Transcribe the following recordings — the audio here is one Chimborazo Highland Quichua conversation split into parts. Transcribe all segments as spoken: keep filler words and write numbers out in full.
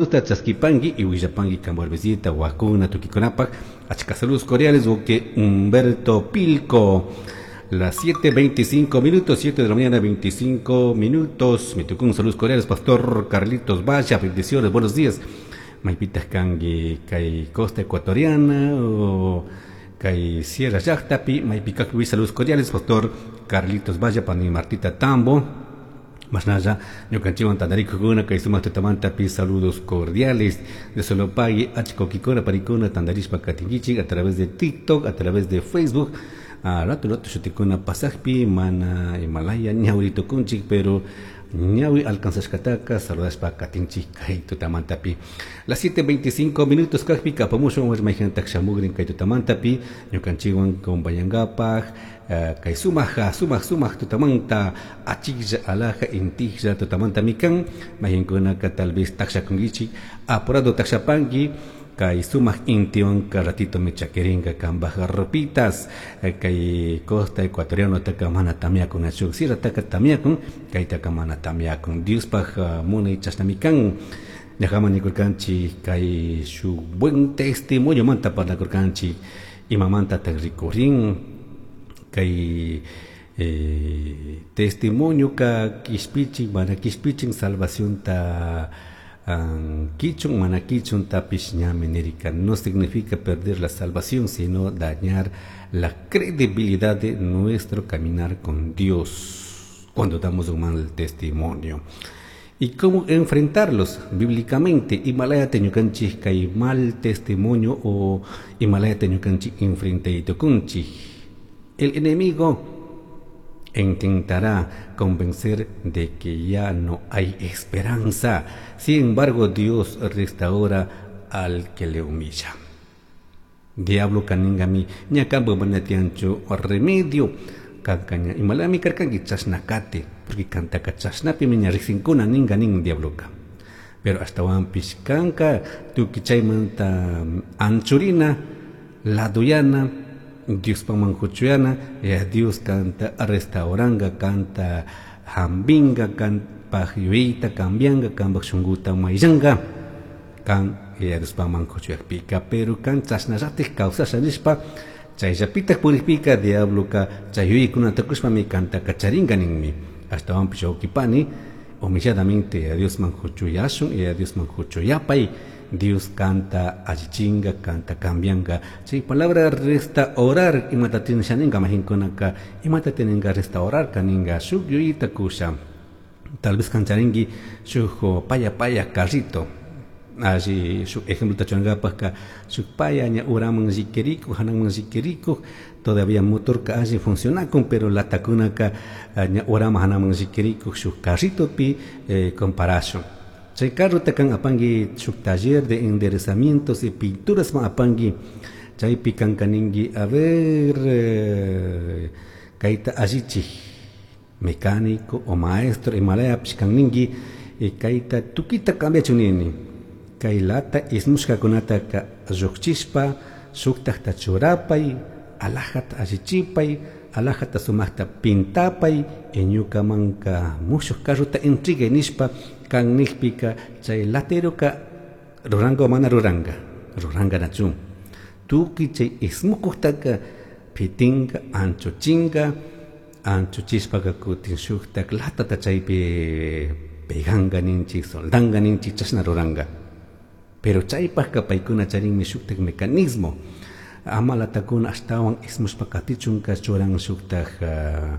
Chasquipanqui y Huillapangui Camborbecita, Huacuna, Tuquiconapac, Achca saludos cordiales, que Humberto Pilco. Las siete veinticinco minutos, siete de la mañana, veinticinco minutos. Me tocó un saludos cordiales, Pastor Carlitos Vaya, bendiciones, buenos días. Maipitas Kangui, Kay Costa Ecuatoriana, o Kay Sierra Yachtapi, Maipicac Luis, saludos cordiales, Pastor Carlitos Vaya, Pani Martita Tambo. Más nada, ñukanchikwan tantarikukuna kay sumaq tutamantapi saludos cordiales de Solopague, Achcoquicona, Paricona, tantarishpa katinkichik a través de TikTok, a través de Facebook. A rato rato shutikuna pasajpi, mana Himalaya, ñawrito kunchik, pero ñawi alcanzashkataka, saludashpa katinchik kay tutamantapi. Las siete veinticinco minutos kajpi, kapamushwan warmayhantak shamugrin kay tutamantapi, ñukanchikwan compañangapaj, kay sumaja, sumaj, sumaj tutamanta, achiklla, alaja, intijlla, tutamanta mikan, mayinkunaka tal vez takshakunkichik, apurado takshapanki, kay sumaj intiwan ratito me chaqueringa kambaja ropitas, kay costa ecuatoriano taka mana tamiakun achuk, sierra taka tamiakun, kay taka mana tamiakun, Dios paj munay chashnamikan, ñajama nikurkanchi kay su buen testimonio manta parlakurkanchi, imamanta tak rikurin, kay eh, testimonio ka kishpichin, mana kishpichin salvación ta kichun, mana kichun tapish ñami nirika. No significa perder la salvación, sino dañar la credibilidad de nuestro caminar con Dios cuando damos un mal testimonio. ¿Y cómo enfrentarlos bíblicamente? Himalaya teñukanchik kay mal testimonio o Himalaya teñukanchik enfrentaitokunchik. El enemigo intentará convencer de que ya no hay esperanza. Sin embargo, Dios restaura al que le humilla. Diablo kaningami ñakambo manatiancho remedio kankaña imalami karkanki chasnakate, porque kantaka chasnapi miña riksinkuna ninga nin diabloka. Pero hasta wampis kanka tuki chaymanta anchurina laduyana Dios pamanjuchuyana, ya Dios canta restauranga, canta hambinga, canta yuita, cambianga, camba shunguta mayanga, kan ya Dios pamanjuchuyakpika, pero kan chasnarati causasha nishpa, chayllapita puripika, diablo ka chayuikuna takushpa mi canta kacharinga ninmi, hasta wampish ukipani, humilladamente a Dios manjuchuyashun, y a Dios manjuchuyapay, Dios canta allichinga, canta cambianga. Sí, palabra restaurar, imata tiene shaninga mahinkonaka, imata tienen restaurar kaninga, shuk yuita kusha. Tal vez cancharingui shuk paya paya carrito. Allí shuk ejemplo tachanga paska, shuk paya ña uraman zikerico, hanaman zikerico, todavía motor ka allí funciona con, pero la takunaka ña urama hanaman zikerico, shuk carrito pi eh, comparación. Chay carro takan apangi shuk taller de enderezamientos y pinturas ma apangi chay pican kaningui a ver eh, kaita allichi mecánico o maestro Himalaya pishkan ningui y kaita tukita cambia chunini kay lata ismushka kunata ka lluqchispa shuktaqta churapay alajata allichipay alajata sumaqta pintapay ñukamanka mushuq carrota entrega nishpa kan nijpika chay lateroka ruranga o mana ruranga ruranga nachun tuki chay ismukuqtaka pitinga anchuchinga anchuchishpaka kutin shuktak latata chaypi peganga ninchik soldanga ninchik chashna ruranga pero chaypaqka paykuna charinmi shuktak mecanismo ama latakuna ashtawan ismushpa katichunka churan shuktak uh,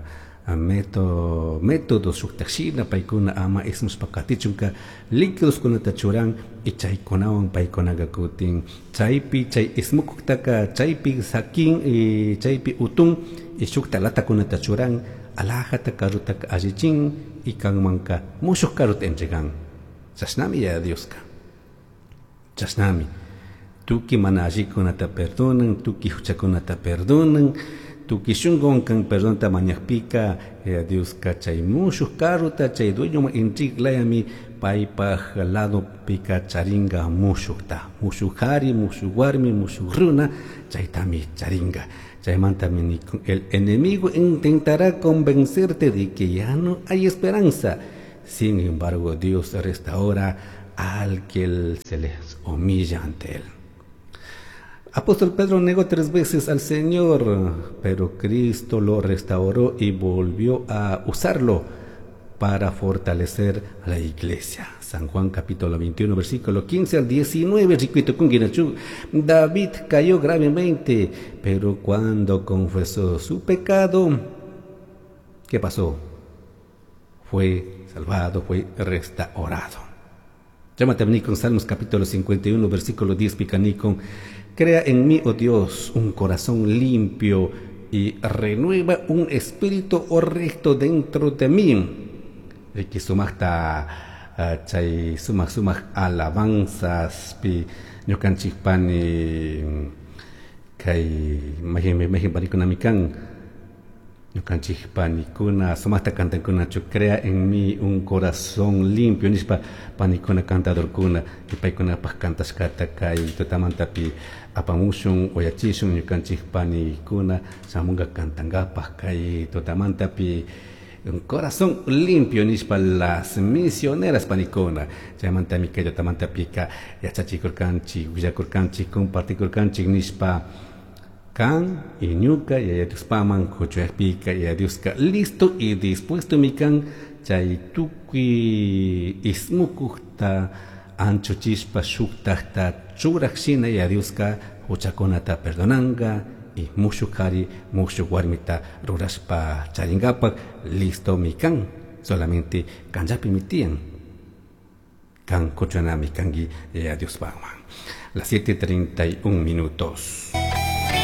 método método shuktak shina paykuna ama ismushpa katichunka líquidos kunata churan y chaykunawan paykunaqa kutin chaypi chay ismukuqtaka chaypi sakin y chaypi utun y shukta latakunata churan alajata carrutaka allichin y kanmanka mushuq carruta entregan chashnami ya Dioska chashnami tuki mana allikunata perdonan tuki huchakunata perdonan tuki shunqun kan perdonta mañaqpika eh, Dioska chay mushuq carruta chay dueño intriglayami paypaj lado pika charinga mushuqta mushuq qhari mushuq warmi mushuq runa chaytami charinga chaymantami nikun el enemigo intentará convencerte de que ya no hay esperanza. Sin embargo, Dios restaura al que se les humilla ante él. Apóstol Pedro negó tres veces al Señor, pero Cristo lo restauró y volvió a usarlo para fortalecer a la iglesia. San Juan capítulo veintiuno, versículo quince al diecinueve. David cayó gravemente, pero cuando confesó su pecado, ¿qué pasó? Fue salvado, fue restaurado. Llámate a con Salmos capítulo cincuenta y uno, versículo diez, picanicon. Crea en mí, oh Dios, un corazón limpio y renueva un espíritu recto dentro de mí. Riki sumaqta chay sumaq sumaq alabanzas pi ñukanchik pani kay mayhin mayhin panikunami kan ñukanchik panikuna sumaqta cantankunachu crea en mí un corazón limpio nishpa panikuna cantadorkuna y paykunapaq cantashkata kay tutamantapi apamushun uyachishun ñukanchik panikuna shamunga cantankapaq kay tutamantapi un corazón limpio nishpa las misioneras panikuna chaymantami kay tutamantapika yachachikurkanchik willakurkanchik compartikurkanchik nishpa kan y ñuka yaya Diospaman kuchuyakpika yaya Dioska listo y dispuesto mikan chay tukuy ismukukta anchuchishpa shuktakta churaq shina yaya Dioska huchakunata perdonanka y mushuk qhari mushuk warmita rurashpa charinkapak listo mikan solamente kanllapimi tiyan kan kuchunami kanki yaya Diospaman. Las siete treinta y un minutos.